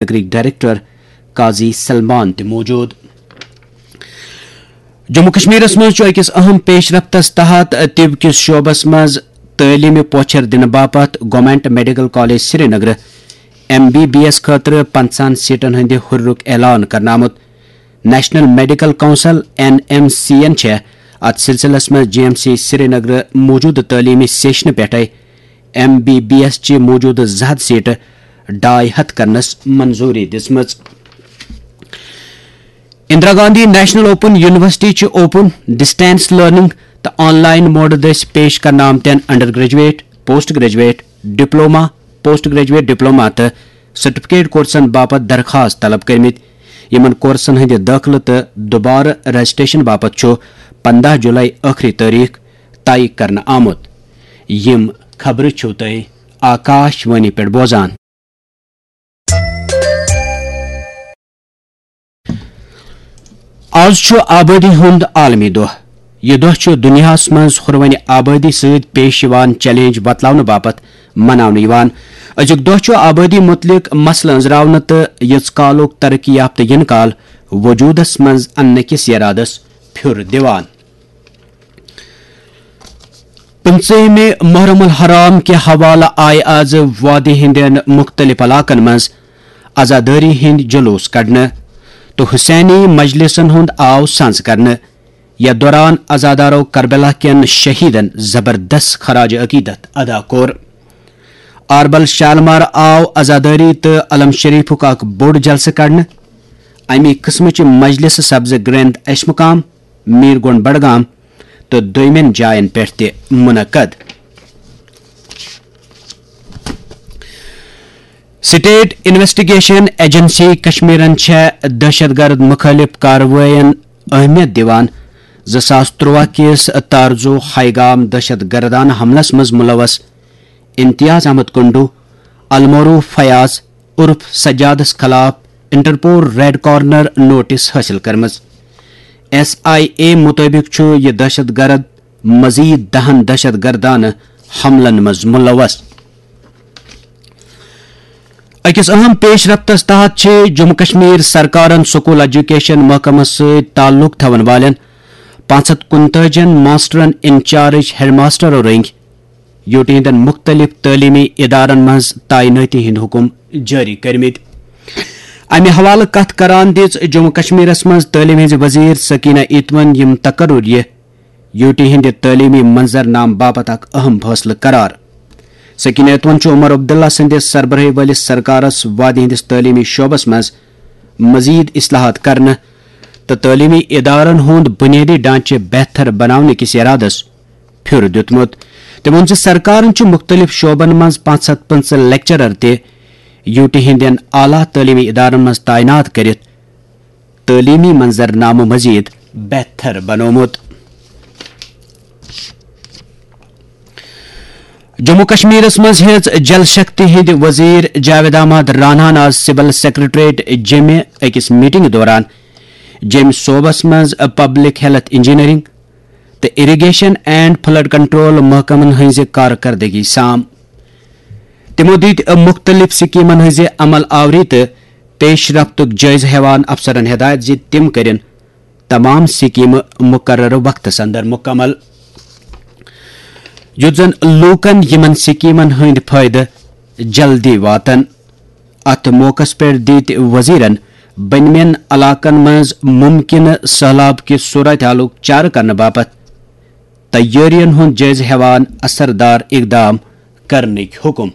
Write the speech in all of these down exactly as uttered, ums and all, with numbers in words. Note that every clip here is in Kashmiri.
نگرٕکۍ ڈائریکٹر قاضی سلمان تہِ موجود۔ جموں کشمیرس منٛز چھُ أکِس اہم پیش رفتس تحت طب کِس شعبس منٛز تعلیمہِ پوچھر دِنہٕ باپتھ government medical college Srinagar M B B S خٲطرٕ پنٛژاہن سیٹن ہٕنٛدِ ہُررُک اعلان کرنہٕ آمُت۔ National medical council, N M C یَن چھےٚ اتھ سلسلس منٛز جی ایم سی سرینگر موجودٕ تعلیمی سیشنہٕ پٮ۪ٹھے ایم بی بی ایس چہِ موجودٕ زٕ ہتھ سیٹہٕ ڈاے ہتھ کرنس منظوری دِژمٕژ۔ Indira Gandhi national open university چھِ اوپن، ڈسٹینس لرننگ تہٕ آن لائن موڈٕ دٔسۍ پیش کرنہٕ آمتٮ۪ن undergraduate, post graduate, diploma, post graduate diploma تہٕ سرٹیفکیٹ کورسن باپتھ درخواست طلب کٔرمٕتۍ۔ یِمن کورسن ہٕنٛدِ دٲخلہٕ تہٕ دُبارٕ رجسٹریشن باپتھ چھُ پنٛداہ جولائی ٲخری تٲریخ طے کرنہٕ آمُت۔ یِم خبرٕ چھِو تُہۍ آکاش وانی پٮ۪ٹھ بوزان۔ آز چھُ آبٲدی ہُنٛد عالمی دۄہ۔ یہِ دۄہ چھُ دُنیاہَس منٛز ہُروٕنہِ آبٲدی سۭتۍ پیش یِوان چیلنج وۄتلاونہٕ باپتھ مناونہٕ یِوان۔ أزیُک دۄہ چھُ آبٲدی مُتعلِق مسلہٕ أنٛزراونہٕ تہٕ یٔژ کالُک ترقی یافتہٕ یِنہٕ کال وجوٗدَس منٛز اَننہٕ کِس یرادَس پھیُر دِوان۔ پٕنٛژٕہمہِ محرم الحرام کہِ حوالہٕ آیہِ آز وادی ہٕنٛدٮ۪ن مُختٔلِف علاقن منٛز عزادٲری ہٕنٛدۍ جلوٗس کڑنہٕ تہٕ حسینی مجلسن ہُنٛد آو سنز کرنہٕ۔ یتھ دوران عزادارو کربلا کٮ۪ن شہیدن زبردست خراج عقیدت ادا کوٚر۔ آربل شالمار آو عزادٲری تہٕ علم شریفُک اکھ بوٚڑ جلسہٕ کڑنہٕ۔ اَمی قٕسمٕچہِ مجلسہٕ سپزٕ گرینڈ ایش مقام، میٖر گونڈ بڈگام تہٕ دوٚیمٮ۪ن جاین پٮ۪ٹھ تہِ منعقد۔ سٹیٹ انویسٹیگیشن ایجنسی کشمیرن چھےٚ دہشت گرد مخالف کاروٲیین اہمیت دِوان۔ زٕ ساس تُرٛواہ کِس تارزو ہائی گام دہشت گردانہ حملس منٛز ملوث امتیاز احمد کنڈو، المعروف فیاض عرف سجادس خلاف انٹرپول ریڈ کارنر نوٹس حٲصِل کٔرمٕژ۔ ایس آئی اے مُطٲبِق چھُ یہِ دہشت گرد مزید دہن دہشت گردانہ حملن منٛز ملوث۔ أکِس اہم پیش رفتس تحت چھِ جموں کشمیر سرکارن سکول ایجوکیشن محکمس سۭتۍ تعلق تھاون والٮ۪ن پانٛژھ ہتھ کُنتٲجِن ماسٹرن انچارج ہیڈ ماسٹرو رٔنگۍ یوٗ ٹی ہٕنٛدٮ۪ن مُختٔلِف تعلیٖمی اِدارن منٛز تعینٲتی ہٕنٛدۍ حُکم جٲری کٔرمٕتۍ۔ اَمہِ حوالہٕ کَتھ کران دِژ جموں کشمیرَس منٛز تعلیٖم ہٕنٛزِ وزیر سکینہ ایتمن یِم تقرر یہِ یوٗ ٹی ہٕنٛدِ تعلیٖمی منظرنامہٕ باپتھ اکھ اہم فٲصلہٕ قرار۔ سکینہ ایتمن چھُ عمر عبداللہ سٕنٛدِ سربرٲہی وٲلِس سرکارَس وادی ہٕنٛدِس تعلیٖمی شعبس منٛز مزید اصلاحات کرنہٕ تہٕ تعلیٖمی ادارن ہُنٛد بنیٲدی ڈھانچہٕ بہتر بناونہٕ کِس ارادس پھیُر دیُتمُت۔ تٔمۍ ووٚن زِ سرکارن چھُ مُختٔلِف شعبن منٛز پانٛژھ ہتھ پٕنٛژٕہ لیکچرر تہِ یوٗ ٹی ہٕنٛدٮ۪ن اعلیٰ تعلیٖمی ادارن منٛز تعینات کٔرِتھ تعلیٖمی منظرنامہٕ مزید بہتر بنوومُت۔ جموں کشمیرس منٛز ہیٚژ جل شکتی ہٕنٛدۍ وزیر جاوید احمد راناہن آز سول سیکرٹریٹ جیٚمہِ أکِس میٹنگہِ دوران جیٚمہِ صوبس منٛز پبلک ہیلتھ انجینئرنگ تہٕ اریگیشن اینڈ فلڈ کنٹرول محکمن ہٕنٛزِ کارکردگی سام۔ تِمو دِتۍ مُختٔلِف سکیمن ہٕنٛزِ عمل آوری تہٕ پیش رفتُک جٲیزٕ ہٮ۪وان افسرن ہدایت زِ تِم کٔرِن تمام سکیمہٕ مقررٕ وقتس اندر مکمل، یُتھ زن لوٗکن یِمن سکیمن ہٕنٛدۍ فٲیدٕ جلدی واتن۔ اتھ موقعس پٮ۪ٹھ دِتۍ وزیرن بٔنمٮ۪ن علاقن منٛز ممکنہٕ سٔہلاب کہِ صورت حالُک چارٕ کرنہٕ باپتھ تیٲرین ہُنٛد جٲیزٕ ہٮ۪وان اثردار اقدام کرنٕکۍ حُکم۔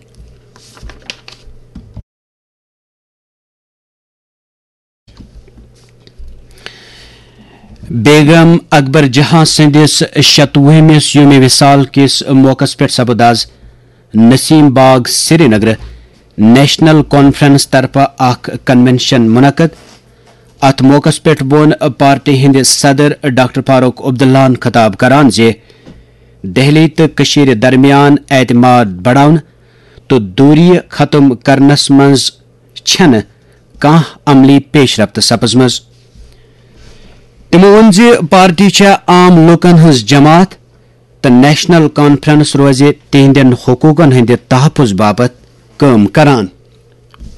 بیگم اکبر جہاں سٕنٛدِس شتوُہمِس یومِ وصال کِس موقعس پٮ۪ٹھ سپُد آز نسیم باغ سرینگر نیشنل کانفرنس طرفہٕ اکھ کنونشن منعقد۔ اتھ موقعس پٮ۪ٹھ ووٚن پارٹی ہٕنٛدِ صدر ڈاکٹر فاروق عبداللہن خطاب کران زِ دہلی تہٕ کٔشیٖرِ درمیان اعتماد بڑاونہٕ تہٕ دوٗریہِ ختم کرنس منٛز چھنہٕ کانٛہہ عملی پیش رفت سپٕزمٕژ۔ تِمو ووٚن زِ پارٹی چھےٚ عام لوٗکن ہٕنٛز جماعت تہٕ نیشنل کانفرنس روزِ تِہنٛدٮ۪ن حقوٗقن ہٕنٛدِ تحفظ باپتھ کٲم کران۔